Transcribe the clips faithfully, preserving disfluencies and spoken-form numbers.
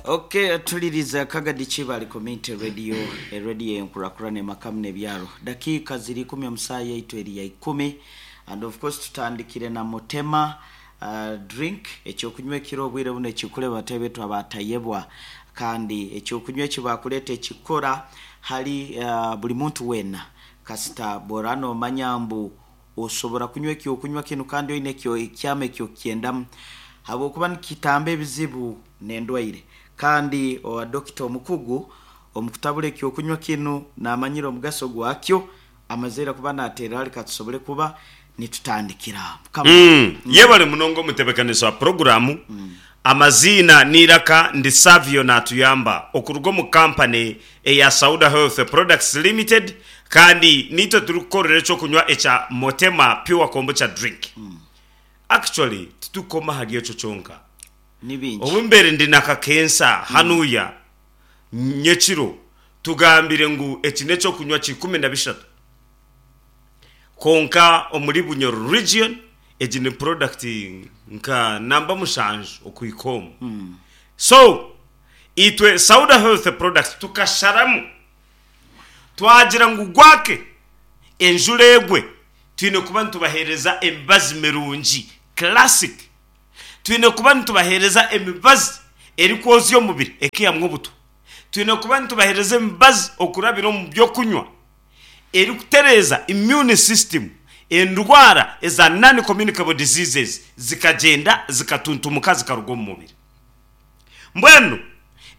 Okay, tuliriza Kagadi Kibali Community Radio, radio enkurakurana emakamu n'ebyaro. Dakiika ziri ikumi omusaa yaitu eri ya ikumi, and of course tutandikire na Mutema uh, drink, ekyokunywa ekiro obwire buno ekikuleba batebe abatayebwa, kandi ekyokunywa ekibakuleeta ekikora hali uh, buli muntu weena. Kasita borano omanya mbu osobora kunywa ekyokunywa kinu kandi oine ekyo ekyama ekyo kyendamu, habwokuba nikitamba ebizibu n'endwaire. Kandi owa dokita omukugu omukutabula ekyokunywa kinu namanyira omugaso gwakyo, amazeera kuba nateera reka tusobole kuba nitutandikira. Mukama. Mm. Yebale munonga omutebekanisa wa puroguramu. Amaziina n'eiraka ndi Savio natuyamba okuruga omu kampani eya Sauda Health Products Limited, kandi nitwe turikukorera ekyokunywa ekya Motema Pure Kombucha Drink. Actually titukoma ahari ekyo kyonka. Ni bingi. Obu mbere ndi na kakensa hanuya nyekiro tugambire ngu eki n'ekyokunywa kikumi na bishatu, konka omuri Bunyoro region egi ni product nka namba mushanju okuhika omu. So itwe Sauda Health Products tukasharamu twagira ngu gwake enjura egwe twine kuba nitubaheereza emibazi mirungi classic, twine kuba nitubaheereza emibazi erikwozya omubiri ekihamwa obutwa, twine kuba nitubaheereza emibazi okurabira omu byokunywa erikutereeza immune system, endwara eza non communicable diseases zikagyenda zikatuntumuka zikaruga omu mubiri. Mbwenu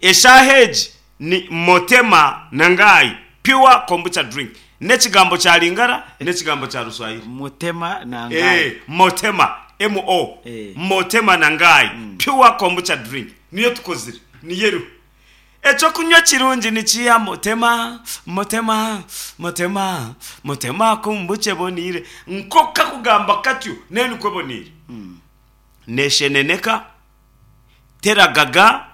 eshaaha egi ni Motema Nangai Pure Kombucha Drink, n'ekigambo kya Lingala n'ekigambo kya Ruswahili. Mutema Nangai. Eh, Motema M O. Eh. Motema Nangai Pure Kombucha Drink niyo tukozire, niyo eriho. Ekyokunywa kirungi nikiya Motema, Motema, Motema, Motema kombucha eboniire. Nkoka kugamba katyo nayo nikwo eboniire. Nesheneneka, teragaga,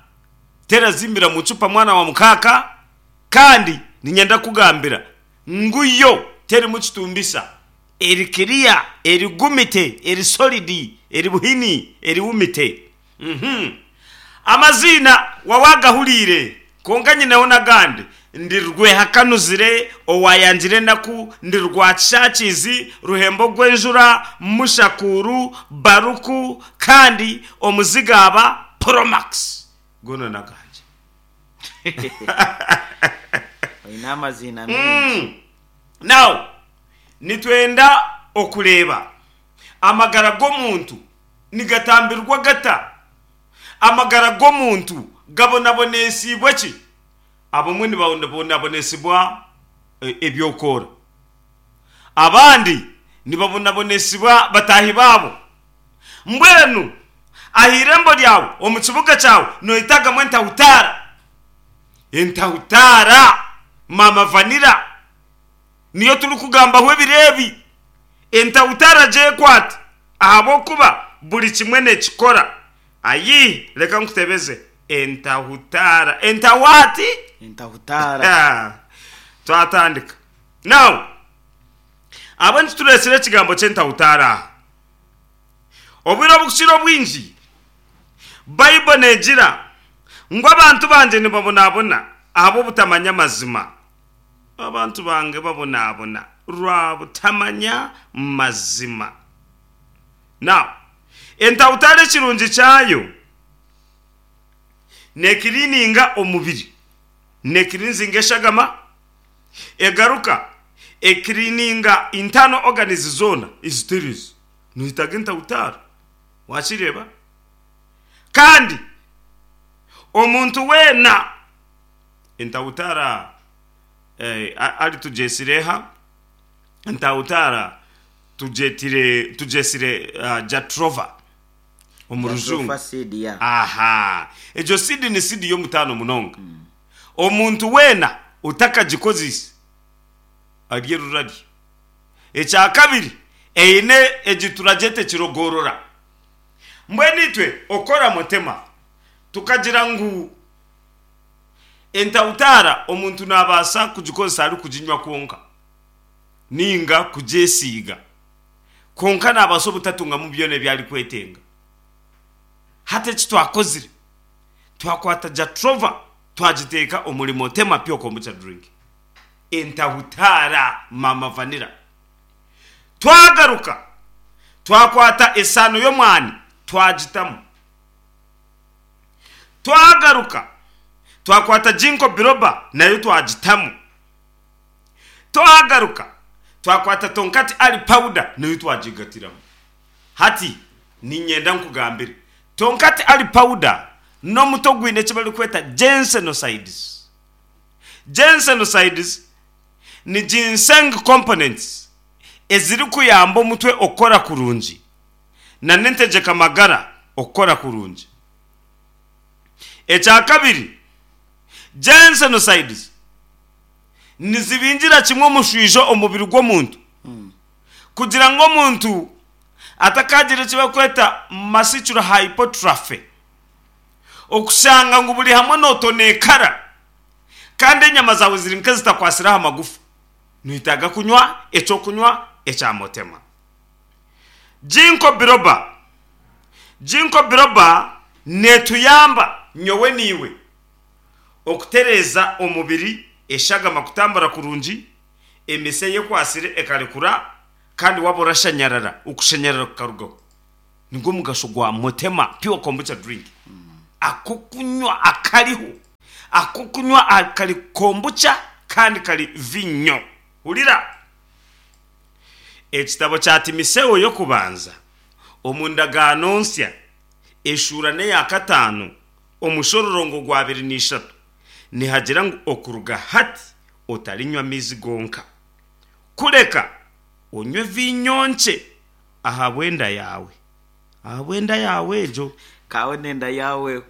terazimbira mu cupa mwana wa mukaaka, kandi ninyenda kugambira ngu yo terimu kitumbisa, eri clear, eri gumite, eri solid, eri buhini, eri wumite. Mhm. Amaziina wawagahuriire, konka nyineho n'agandi. Ndi Rwehakanuzire owayangire enaku, ndi Rwakishakizi, Ruhembo gw'enjura, Mushakuru, Baruku, kandi omuzigaaba Promax. Goona n'agangye. Oine amaziina mingi. Mm. Now, nitwenda okureeba amagara g'omuntu nigatambirwa gata, amagara g'omuntu gabonabonesibwe ki? Abamwe nibabonabonesibwa ebyokoora, abandi nibabonabonesibwa bataahi baabo. Mbwenu aha irembo ryawe omu kibuga kyawe noyetagamu entahutaara. Entahutaara mama vanira niyo turikugambaho ebiro ebi. Entahutaara gyekwate ahabw'okuba buri kimwe nekikora. Ayi reka nkutebeze entahutaara. Entawati? Entahutaara. Twatandika. Now, abo nitutureetsire ekigambo ky'entahutaara aha. Obwire obukukira obwingi Bible negira ngu abantu bangye nibabonabona ahabw'obutamanya amazima. Abantu bange babonabona rwabutamanya mazima. Now, entahutaara ekirungi kyayo nekirininga omubiri, nekirinzinga eshagama, egaruka ekirininga internal organs zoona ezitereeza. Noyetaga entahutaara, wakireeba? Kandi omuntu weena entahutaara eh, ari tugyesire eha entahutaara tugyetire tugyesire uh, Jatropha omu rujungu. Jatropha seed ya. Aha, egyo seed ni seed y'omutaano munonga. Omuntu weena otakagikozise arye rurarye. Ekya kabiri eine egi turagyeta ekirogorora. Mbwenu itwe okora Mutema tukagira ngu entahutaara omuntu nabaasa kugikozesa arikuginywa kwonka ninga kugyesiiga, konka nabaasa obutatungamu byona ebi arikwetenga. Hati eki twakozire Twakwata jatropha twagiteeka omuri Motema Pure Kombucha drink, entahutara mama vanilla. Twagaruka twakwata esano y'omwani twagitamu. Twagaruka twakwata ginkgo biloba nayo twagitamu. Twagaruka twakwata tongkat ali powder nayo twagigatiramu. Hati ninyenda nkugambire, tongkat ali powder n'omuto gwine eki barikweta ginsenosides. Ginsenosides ni ginseng components ezirikuyamba omutwe okukora kurungi na n'entegyeka magara okukora kurungi. Ekya kabiri, ginsenosides nizibingira kimwe omushwijo omubiri gw'omuntu kugira ngu omuntu atakagira eki barikweta muscular hypertrophy, okushanga ngu buri hamwe notonekara kandi enyama zawe ziri nk'ezitakwasire aha magufa. Noyetaaga kunywa ekyokunywa ekya Motema. Ginkgo biloba, ginkgo biloba netuyamba nyowe niiwe okutereeza omubiri, eshagama kutambura kurungi, emise yekwasire ekarekura, kandi waba orashanyarara okushanyarara kukarugaho. Nigwo mugasho gwa Motema Pure Kombucha drink. Akokunywa akariho, akokunywa kari kombucha kandi kari vinyo. Hurira, ekitabo kya Timoteyo y'okubanza omu ndagaano nsya eshuura n'eya kataano omushororongo gwa abiri n'ishatu nihagira ngu okuruga hati otarinywa amaizi gonka, kureka onywe vinyo nkye ahabw'enda yawe, ahabw'enda yawe egyo. Kawe n'enda yawe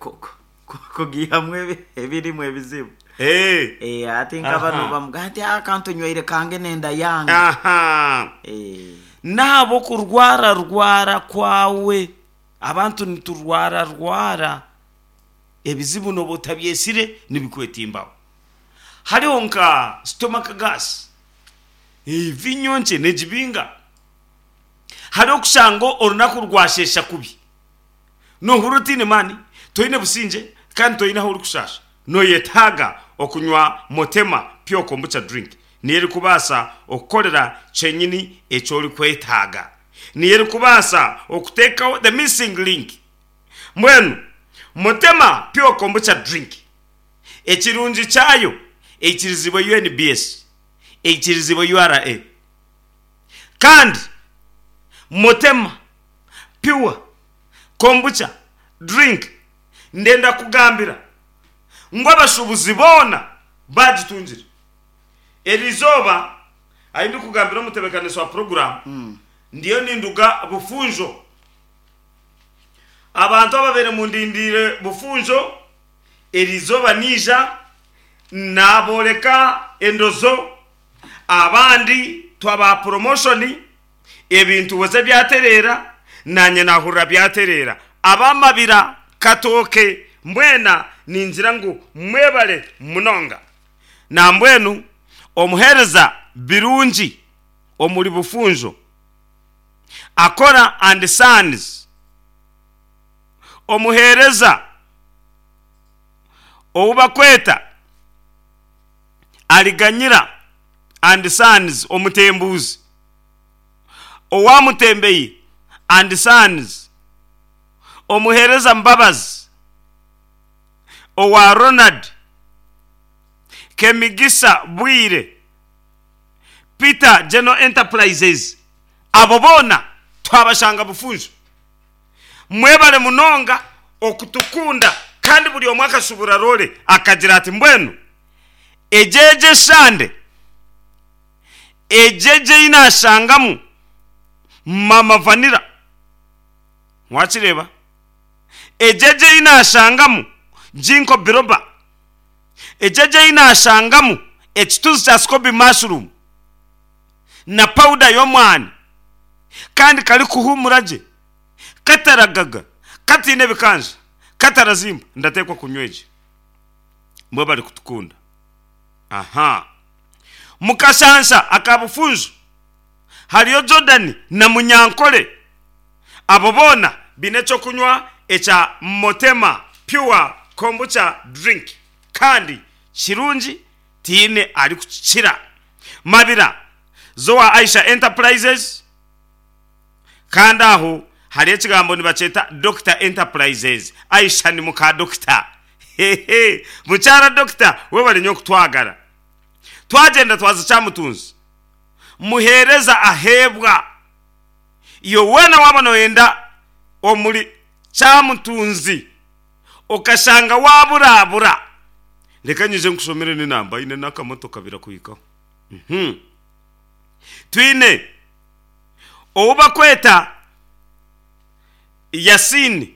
kugihamu ebirimu ebizibu. Eh. Eh, ati nk'abano bamuga ati akantu nywire kange n'enda yange. Aha. Eh. Naabo kurwara rwara kwawe, abantu niturwara rwara, ebizibu noba otabyesire nibikwetimbaho. Hariho nka stomach gas, vinyo nkye negibinga. Hariho okushanga orunaku rwashesha kubi, nohurira otiine maani, toine busingye kandi toine ahu orikushasha, noyetaaga okunywa Motema Pure Kombucha drink. Niyo erikubaasa okukorera kyenyini eki orikwetaaga, niyo erikubaasa okuteekaho the missing link. Mbwenu Motema Pure Kombucha drink ekirungi kyayo, eikirizibwe U N B S, eikirizibwe U R A. Kandi Motema Pure Kombucha drink ndenda kugambira ngu abashubuzi boona bagitungire. Eri izooba ahi ndikugambira omutebeekanisi wa poroguramu, ndiyo ninduga Bufunjo. Abantu ababaire mundindire Bufunjo, eri izooba niija naboreka endozo. Abandi twaba promotion, ebintu weze byatereera, nanye nahurira byatereera. Abamabira katooke mbwena ningira ngu mwebale munonga. Nambwenu omuheereza Birungi omuri Bufunjo, Akora and Sons, omuheereza ou bakweta Ariganyira and Sons omutembuuzi, owamutembeyi and Sons, omuheereza Mbabazi owa Ronald Kemigisa Bwire, Peter General Enterprises, abo boona twabashanga Bufunjo. Mwebale munonga okutukunda. Kandi buri omwe akashubura rore akagira ati mbwenu egyeje eshande egyeje ei nashangamu mama vanilla, wakireeba, egyeje ei nashangamu ginkgo biloba, egyeje ei nashangamu ekituzi kya scoby mushroom na powder y'omwani, kandi kari kuhumura gye, kataragaga, katiine ebikanja, katarazimba, ndateekwa kunywa egi. Mbwe bari kutukunda. Aha mukashansha aka Bufunjo hariyo Jordan na Munyankole, abo boona biine ekyokunywa ekya Motema Pure. kombucha drink kandi kirungi tiine ari kukikira. Mabira zowa Aisha Enterprises, kandi aho hari ekigambo nibakyeta Doctor Enterprises. Aisha ni muka doctor, hehe, mukyara doctor we bari nyo kutwagara. Twagenda twaza Kyamutunzi, muhereza ahebwa iyo wena waba noyenda omuri Kyamutunzi okashanga waburabura. Reka nyije nkushomere n'enamba ine n'akamotoka birakuhikaho. Mhm. Twine owubakweta Yasini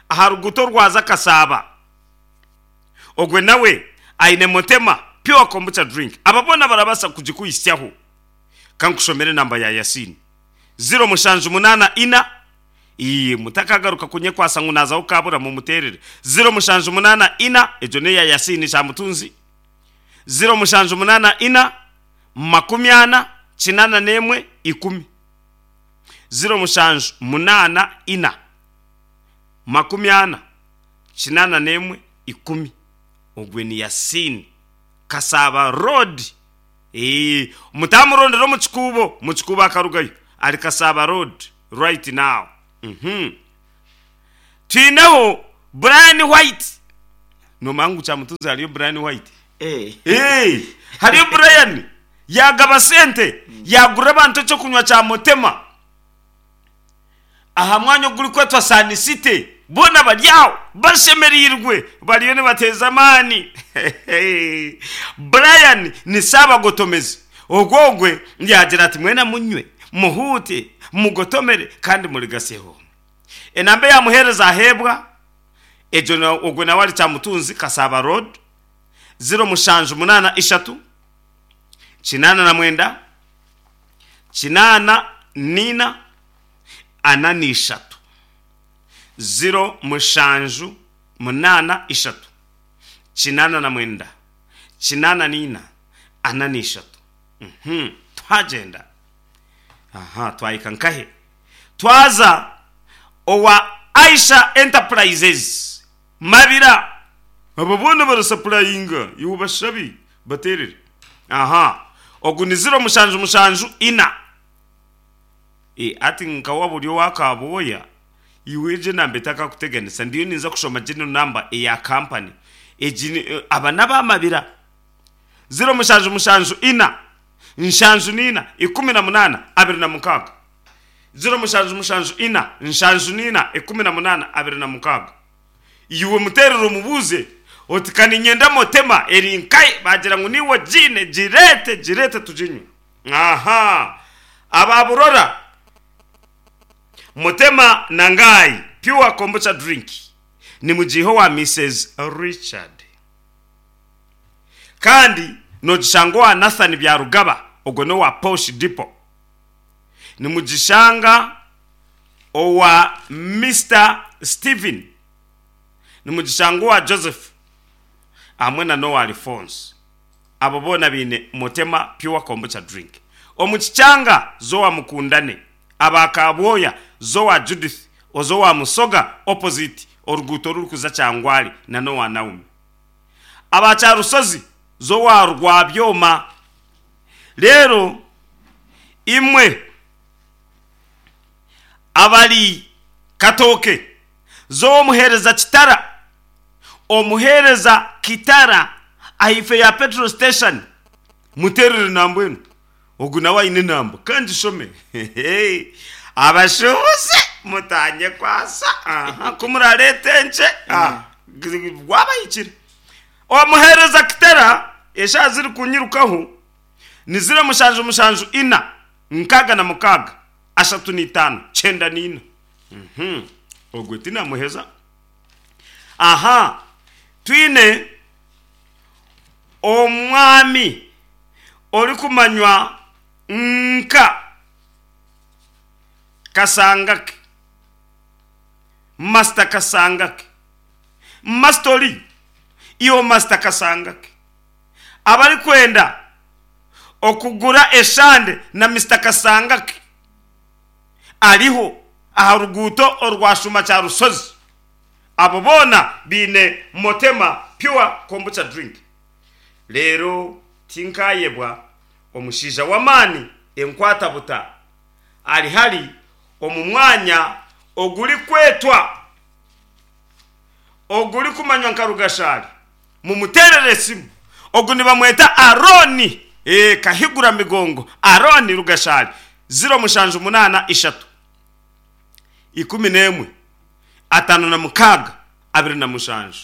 aha ruguto rwaza Kasaba, ogwe nawe aine Mutema pure kombucha drink. Ababona barabasa kugikuhisyaho. Kankushomere namba ya Yasini zero mushanju munana ina, iye mutakagaruka kunye kwasa ngu nazaho kabura mumuterere. Zero mushanju munana ina, ejo ne ya Yasini Kyamutunzi. Zero mushanju munana ina makumi ana kinana nemwe ikumi. Zero mushanju munana ina makumi ana kinana nemwe ikumi. Ogwe ni Yasini Kasaba Road. Eh, mutamurondera mu kikubo, mu kikubo akarugayo ari Kasaba Road right now. Mhm. Twineho Brian White. No mangu Kyamutunzi hariyo Brian White. Eh. Eh, hariyo Brian yagaba sente yagura abantu cyo kunywa cya Mutema aha mwanya guri kwetwa Sun City, bona baryaho bashemerirwe bariyo nibateza amani. Brian ni sabagotomezi ogwogwe yagira ati mwena munywe muhute mugotomere kandi murigaseho. Enambe yamuhereza ahebwa ejo na ogwe nawe ari Kyamutunzi Kasaba Road zero mushanju munana ishatu kinana na mwenda kinana nina ana ni ishatu. Zero mushanju munana ishatu kinana na mwenda kinana nina ana ni ishatu. Mhm. Twagenda aha twayika nkahe twaza owa Aisha Enterprises Mabira. Abo bona barasapurayinga iwe bashabi baterere. Aha ogu ni zero mushanju mushanju ina. E ati nkawa buryo wakaboya iwe je nambe takakuteganisa ndiyo ninza kushoma jino namba eya company ejini aba nabamabira. Zero mushanju mushanju ina nshanju nina ikumi na munana abiri na mukaga. Zero mushanju mushanju ina nshanju nina ikumi na munana abiri na mukaga. Iwe muterero mubuze oti kaninyenda Mutema eri nkai bagira ngo niwo jine jirete jirete tujinywe. Aha ababurora Mutema nangai pure kombucha drink ni mujiho wa Missus Richard, kandi nogishanga Nathan Byarugaba ogwo no wa Posh Depot, ni mugishanga owa Mister Steven, ni mugishanga wa Joseph amwe na Noah Alphonse. Abo bona bine Mutema pure kombucha drink. Omukichanga zowa mukundane abakabwoya zowa Judith ozowa Musoga opposite oruguto rurukuza Kyangwali na Noah Naomi. Abacharusozi zowa Rwabyoma. Lero imwe abali Katoke zo muhereza Kitara, omuhereza Kitara ahife ya petrol station muterere nambwenu ogu nawe aine namba kandi shome. Abashubuze mutanye kwasa aha kumurarete nche wabayikire. Omuhereza Kitara esha ziri kunyirukaho ni zero mushanju mushanju ina nkaga na mukaga ashatu ni tano chenda nina. Mhm. Ogwe tina muheza. Aha twine omwami ori kumanywa nka Kasangake, Master Kasangake, Mastori iyo Master Kasangake abari kwenda okugura eshande na Mister Kasangake ariho aha ruguto orwashuma cya Rusozi Abo boona biine Motema Pure Kombucha Drink. Leero tinkayebwa omushaija w'amaani enkwatabuta ari hari omu mwanya ogurikwetwa ogurikumanywa nka Rugashari, mumuterere esimu. Ogu nibamweta Aroni e, Kahigura Migongo Aroni Rugashari, ziro mushanju munana ishatu ikumi n'emwe atano na mukaga abiri na mushanju.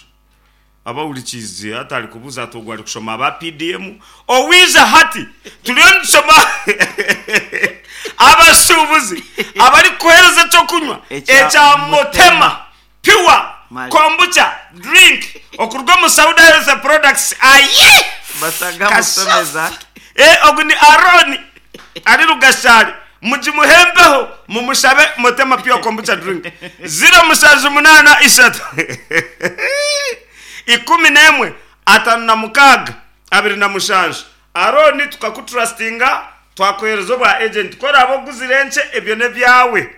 Abawurikize atari kubuza atogwa ari kushoma aba P D M owiza hati turiyo nitushoma abashubuzi abari kuhereza cyo kunywa ekya Motema Pure Kombucha Drink okurwa mu Sauda Health Products. Aye basaga musomeza eh ogu ni Aroni ari Rugashari, mujimuhembeho mumushabe Motema Pure Kombucha Drink zero mushanju munana ishatu ikumi n'emwe atano na mukaga abiri na mushanju. Aroni tukakutrustinga twakohereza obwa agent kora abo guzire nche ebyo ne byawe.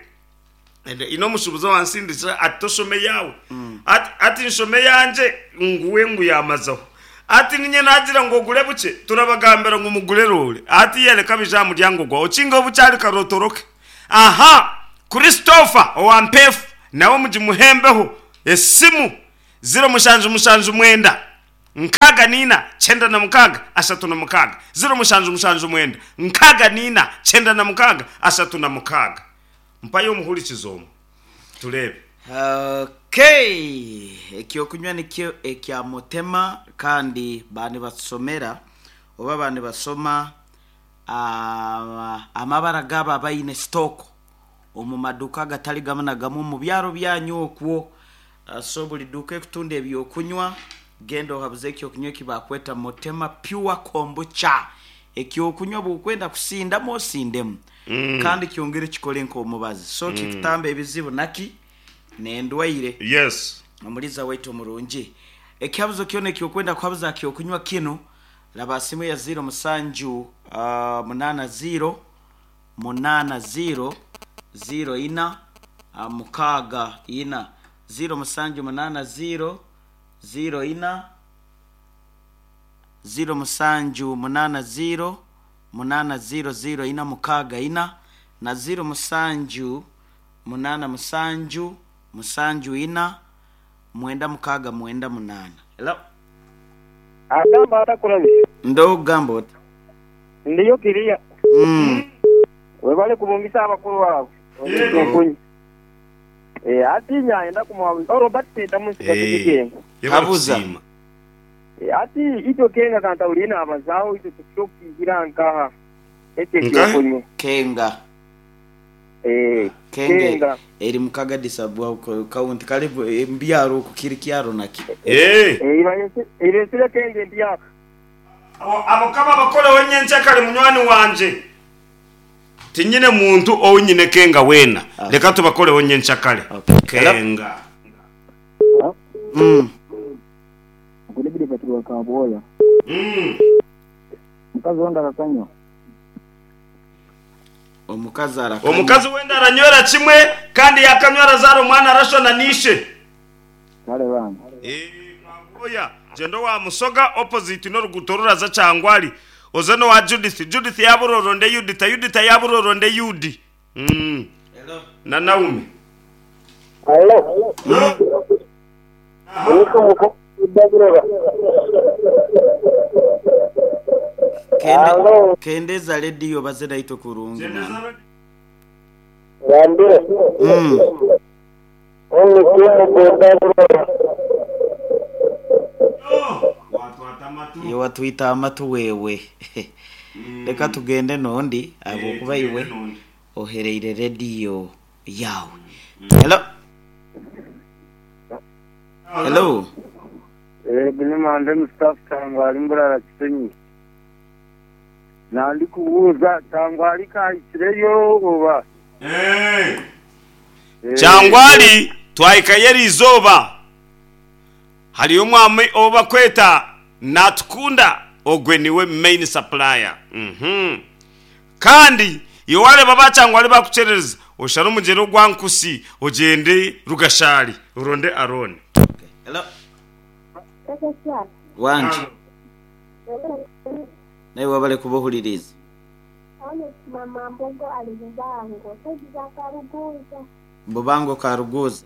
Ino mushubuzo wansindisa ati toshome yawe mm. ati, ati nshome yanje nguwe ngu yamazaho ati ninye nagira ngo gure buke turabagambira ngo mugure role ati yereka bija muryango gwa okinga obucyari karotoroke. Aha Christopher owampefu nawe mujimuhembeho esimu zero mushanju mushanju mwenda nkaga nina chenda na mukaga ashatu na mukaga zero mushanju mushanju mwenda nkaga nina chenda na mukaga ashatu na mukaga. Mpayo omuhurikizo turebe. Okay, ekyokunywa nikyo ekya Motema kandi bani basomera oba bani basoma amabara gaba bayine stock omu maduka gatali gamwe na gamwe mu byaro byanyu okwo. So buli duka ekutunda ebyokunywa genda ohabuze ekyokunywa kibakweta Motema Pure Kombucha. Ekyokunywa bwokwenda kusindamu osindemu mm. kandi kyongere kikole nk'omubazi so mm. kikutamba ebizibu naki nendwaire. Yes, omuliza waitu omurungi ekyabuzo kyona ekyokwenda kuhabuza kyokunywa kino laba simu ya zero musanju uh, munana zero munana zero zero ina uh, mukaga ina zero musanju munana zero zero ina zero musanju munana zero munana zero zero ina mukaga ina na zero musanju munana musanju musanju ina mwenda mukaga mwenda munana. Hello. Agamba atakulabi. Ndo gamba oti. Ndiyo kiriya. Mm. Webale kubungisa abakuru bawe. Yeah. Eh ati nyaenda kumwa Robert Peter musika kikenga. Habuza. Eh ati ito kenga kanta ulina abazao ito tukigira nkaha. Ete kyokunywa. Kenga. Eh kenge eri mukaga disabwa kaunti karibu mbyaro kukiri kyaro naki. Eh eh iresire kenge ndiyaka. Abo kaba bakole wenyenche kale munywani wanje tinyine muntu owunyine kenga wena leka tubakole wenyenche kale kenga. Mm kulibidi patwa kaboya. Mm mukazi wanda kakanywa omukazi arakanywa omukazi wenda aranywera kimwe kandi yakanywera zaro omwana arashona nishe kale bana. Eh kaboya jendo wa musoga opposite no rugutorora za cyangwali ozano wa Judith Judith yaburoronde Yudita Yudita yaburoronde Yudi. Mm hello na Naomi. Hello. Kende kendeza radio bazera ito kurungi. Ngambire. Mm. Iyo watwita amatu wewe. Reka tugende nondi abo kuba iwe ohereire radio yawe. Hello. Hello. Eh binimande Mustafa Tangwali mburara Kisenyi. Nandi kubuza Tangwali kahikireyo oba. Eh. Cyangwali twahikayeri izoba. Hariyo omwami oba kweta natukunda ogwe niwe main supplier. Mhm. Kandi iyo wareba bacangwali bakucerereza oshara umugero gwa nkusi ogende Rugashari uronde Aroni. Hello. Wanje. Naye wabale kubuhuliriza. Mama Mbogo ali Bubango. Saidi Karuguza. Bubango Karuguza.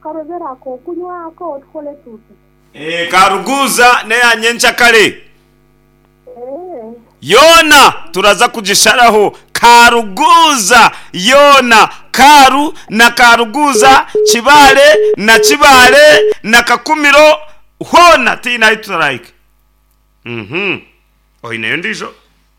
Karozera ako kunywako tukole tuti. Eh, Karuguza neyanyencha kale. Eh. Yona turaza kugisharaho Karuguza yona Karu na Karuguza Kibale na Kibale na Kakumiro hona tina ituraike. Mhm. Oine ndijo.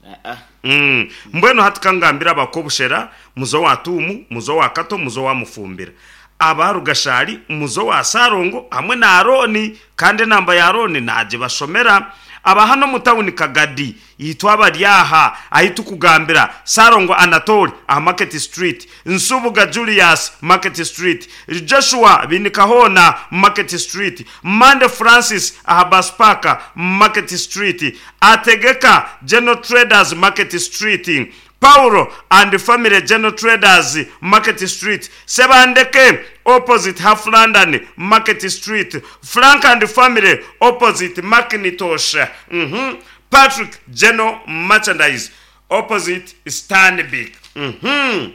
Ah ah. Mm. Mbwenu hatukangambira abakobushera muzo wa tumu muzo wa kato muzo wa mufumbira abarugashari muzo wa sarongo hamwe na Aroni kandi namba ya Aroni naje bashomera aba hano mu town Kagadi yitwa abaryaha ahitukugambira Sarongo Anatoli aha Market Street, Nsubuga Julius Market Street, Joshua Binikahona Market Street, Mande Francis aha Baspaka Market Street, Ategeka General Traders Market Street, Paulo and Family General Traders Market Street, Sebandeke opposite Half London Market Street, Frank and Family opposite Macintosh, mm-hmm. Patrick General Merchandise opposite Stanbic. Mm-hmm.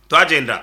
Twagenda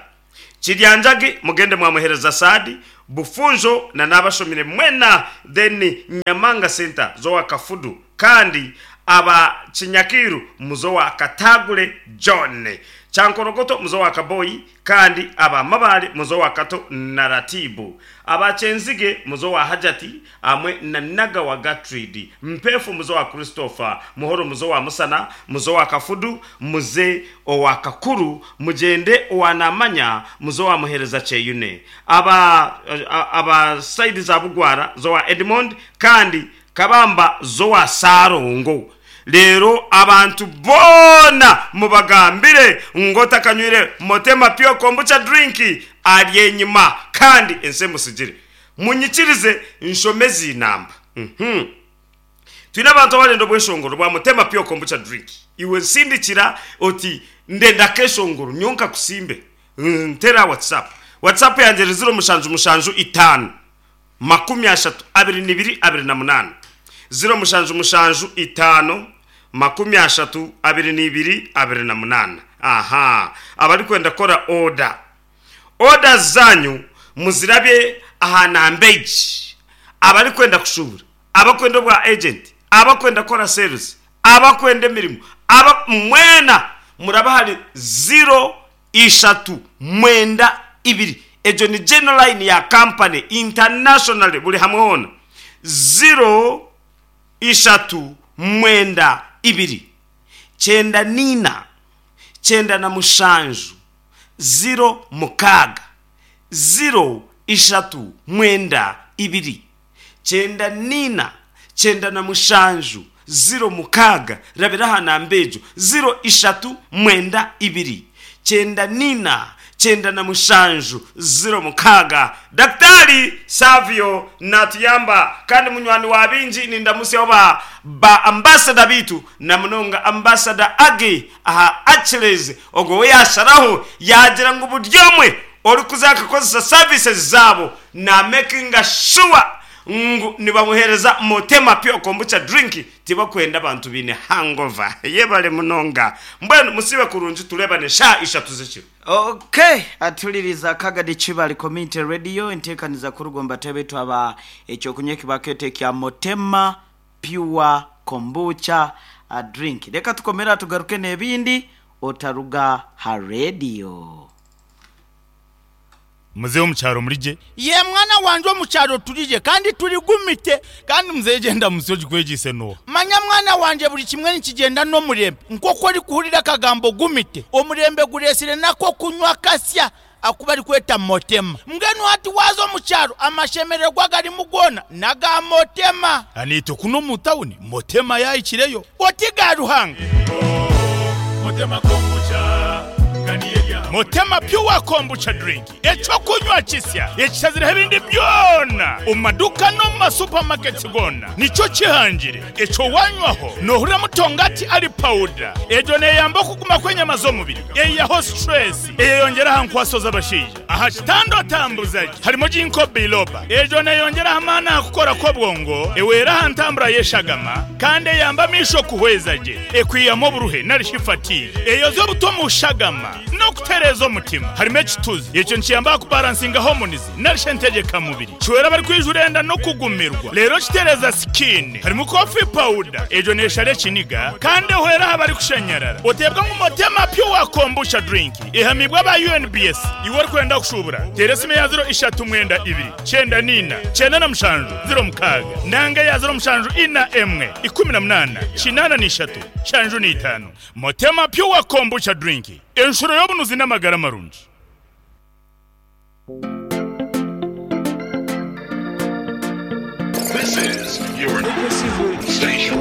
Kiryanjagi mugende mwamuhereza Sadi Bufunjo na nabashomire mwena then Nyamanga Center zowa Kafudu kandi aba Kinyakiru muzo wa Katagule John Chankorogoto muzo wa Kaboyi kandi aba Mabale muzo wa Kato Naratibu aba Chenzige muzo wa Hajati amwe na Naga wa Gatridi Mpefu muzo wa Christopher Muhoro muzo wa Musana muzo wa Kafudu muze owa Kakuru mujende owa Namanya muzo wa Muhereza Cheyune aba aba side za Bugwara zo wa Edmond kandi Kabamba zo wa Sarongo. Lero abantu bona mubagambire ngota kanywire Motema Pure Kombucha drink ali enyuma kandi ense musigire munyikirize nshomezi namba. Mhm. Twina abantu abalendo bweshongoro bwa Motema Pure Kombucha drink iwe nsindikira oti ndenda keshongoro nyonka kusimbe ntera WhatsApp WhatsApp yanje zero mushanju mushanju itanu makumi ashatu abiri nibiri abiri na munani zero mushanju mushanju itanu makumi ashatu abiri nibiri abiri na munana. Aha, abari kwenda kora order order zanyu muzirabye aha nambeji abari kwenda kushubura abakwenda bwa agent abakwenda kora sales abakwenda emirimo aba mwena muraba hari zero ishatu mwenda ibiri ejo ni general line ya company international buri hamwe hona zero ishatu mwenda ibiri chenda nina chenda na mushanju zero mukaga zero ishatu mwenda ibiri chenda nina chenda na mushanju zero mukaga rabiraha na mbejo zero ishatu mwenda ibiri chenda nina chenda na mushanju zero mukaga. Daktari Savio natuyamba kandi munywani wa binji nindamusi oba ba ambassador bitu na munonga ambassador agi aha Achilles ogo yasharaho yagira ngo buryomwe ori kuzaka kozesa services zabo na making sure ngu nibamuhereza Motema Pure Kombucha drink tibakwenda abantu bine hangover yebale munonga mbwenu musibe kurungi tulebane sha ishatu zekiro. Okay, atuliriza Kagadi Kibale Community Radio entekaniza kurugomba tebe twaba ekyokunywa kibakete kya Motema Pure Kombucha a drink. Reka tukomera tugaruke n'ebindi otaruga ha radio. Muzehe omukyaro murije ye mwana wanje omukyaro turije kandi turigumite kandi muzehe genda musi ogikwegise no manya mwana wanje buri kimwe nikigenda n'omurembe nk'oku orikuhurira akagambo gumite omurembe guresire nako kunywa kasya akuba arikweta Motema mbwenu hati waza omukyaro amashemererwa garimu gona naga Motema anito kuno mu tawuni Motema yayikireyo oti ga Ruhanga Motema kombucha kandi yerya. Motema Pure Kombucha drink, ekyokunywa kisya ekishazireho ebindi byona omu maduka n'omu masupamaketi gona. Nikyo kihangire ekyo wanywaho nohurira mutongati ali powder. Egyo neyamba okuguma kw'enyama z'omubiri, eyihaho stress, eyeyongyera aha nkwaso z'abashaija. Aha kitanda otambuza gye harimo ginkgo biloba. Egyo neyongyera amaani aha kukora kw'obwongo, ewera aha ntambura y'eshagama, kandi eyamba amaisho kuhweza gye, ekwihamu oburuhe narishi fatigue, eyoza obuto omu shagama n'okutereeza omutima. Harimo ekituzi, ekyo nikiyamba aha kubalansinga hormones narishi entegyekamubiri, kiwera abarikwijura enda n'okugumirwa, reero kitereeza skin. Harimu coffee powder, egyo neeshara ekiniga kandi ehwera aha barikushanyarara. Oteebwa ngu Motema Pure Kombucha drink ehamibwa aba U N B S. Iwe orikwenda kushubura, teera esimu ya ziro ishatu mwenda ibiri kyenda nina kyenda na mushanju ziro mukaaga nanga ya ziro mushanju ina emwe ikumi na munaana kinaana n'ishatu shanju n'itaano. Motema Pure Kombucha drink, enshuro y'obunuzi n'amagara marungi. This is your station.